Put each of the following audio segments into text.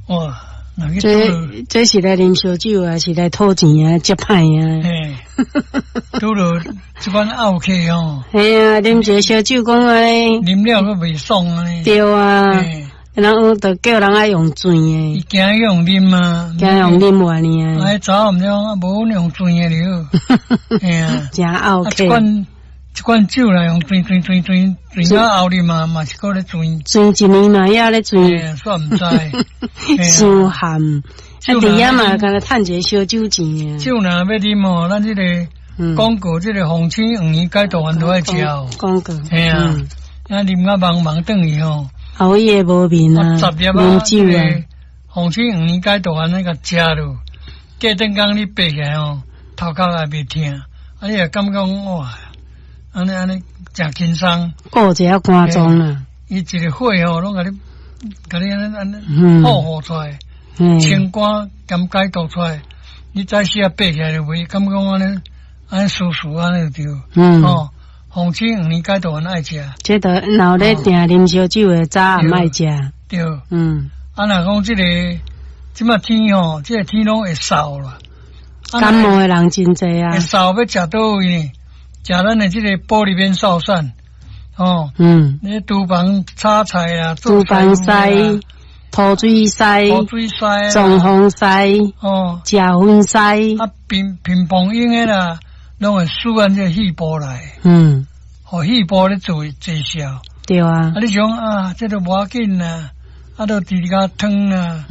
哇，若去這這是來啉燒酒啊，是來討錢啊，接歹啊。嘿，拄著這款漚客吼。嘿啊，啉一个燒酒講按呢。啉了閣袂爽按呢。對啊。人就叫人愛用甜的。伊驚用啉啊。驚用啉完呢。哎，早毋了，無用甜的了。嘿啊。誠漚客。一罐一罐酒來用甜甜甜甜甜到後日嘛嘛是閣咧甜。甜一年嘛猶咧甜。煞毋知。傷鹹。啊，佇遐嘛，敢若趁一個燒酒錢啊。酒若欲啉吼，咱這个廣告，這個鳳青黃連解毒丸都愛食哦。廣告。嘿啊，啊啉甲茫茫轉去吼。後伊會無面啊，十粒啉酒啊。鳳青黃連解毒丸那個食落，過頓工你爬起來吼，頭殼也袂疼，啊你會感覺講哇，按呢按呢誠輕鬆。顧一下肝臟啦。伊一个火吼，攏共你，共你按呢按呢，保護出來，清肝兼解毒出來。你早時啊爬起來就袂感覺講按呢按呢舒舒按呢就對。哦，鳳青黃連解毒丸愛食。這著若有咧定啉燒酒的早暗愛食。對。啊，若講這個這馬天吼，這個天攏會燥啦。感冒的人真濟啊。會燥欲食佗位呢？食咱的這個保利免瘦散。哦。你廚房炒菜啊，廚房師、塗水師、塗水師、裝潢師、哦，食薰師。啊，平平房用的啦，攏會輸按這個肺部來。予肺部咧做濟效。對啊。啊，你想啊，這個無要緊啦，啊，都直直共湯啦。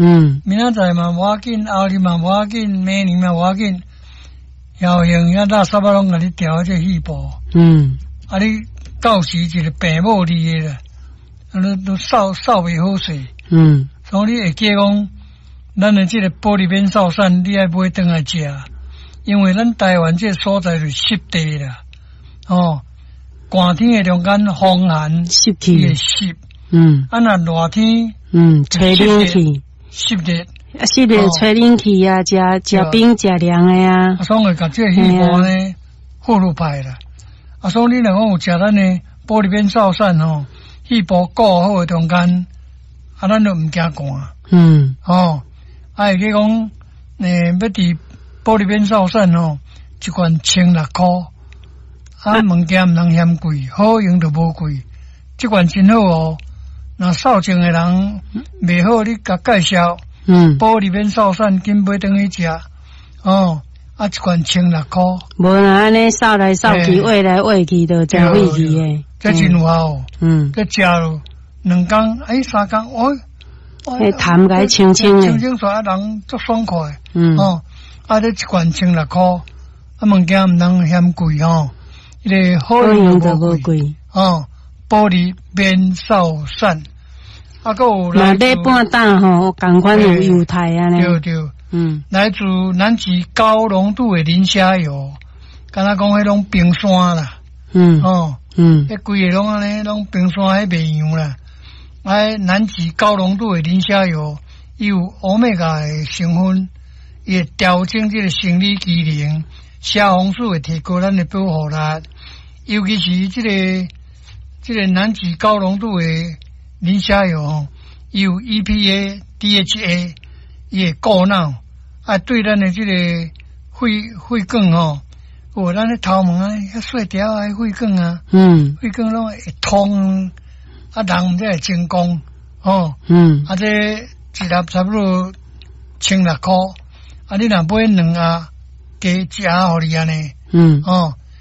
明仔載嘛無要緊，後日嘛無要緊，明年嘛無要緊。搖用遐垃圾仔攏共你調這肺部。啊，你到時一個病母你的啦，啊，你都瘦瘦袂好勢。所以你會記講，咱的這個保利免瘦散，你愛買轉來食，因為咱台灣這個所在是濕地啦，哦，寒天的中間風寒，濕氣會濕。啊，若熱天，吹冷氣，濕熱，啊，濕熱吹冷氣啊，食食冰食涼的啊。啊，所以會共這個肺部呢，好落歹啦。啊，所以你若講有食咱的保利免瘦散吼，肺部顧好的中間，啊，咱就毋驚寒。哦，啊，會記講，欲佇保利免瘦散吼，一罐千六箍，啊，物件毋通嫌貴，好用就無貴。這罐真好哦，若瘦症的人袂好，你共介紹。保利免瘦散，緊買轉去食。哦，啊，一罐千六箍。無啦，按呢掃來掃去，餵來餵去，就誠費氣的。這真有效。這食落兩工，哎，三工，哦，彼痰共清清的。清清出來，人足爽快。哦，啊，這一罐千六箍，啊，物件毋通嫌貴吼，彼个好用就無貴。哦，保利免瘦散，啊，閣有。若買半擔吼，仝款有優待按呢。對對。來自南極高濃度的磷蝦油，敢若講彼攏冰山啦。哦。彼規个攏按呢，攏冰山彼賣洋啦。啊，南極高濃度的磷蝦油，伊有歐米伽的成分，伊會調整這個生理機能，蝦紅素會提高咱的保護力。尤其是這個南極高濃度的磷蝦油吼，伊有 EPA、DHA，伊會顧腦，啊，對咱的這個肺管吼，有咱的頭毛啊，遐細條啊，血管啊，血管攏會通，啊，人毋知會成功，吼，啊，這一粒差不多千六箍，啊，你若買兩盒，加一盒予你按呢，哦。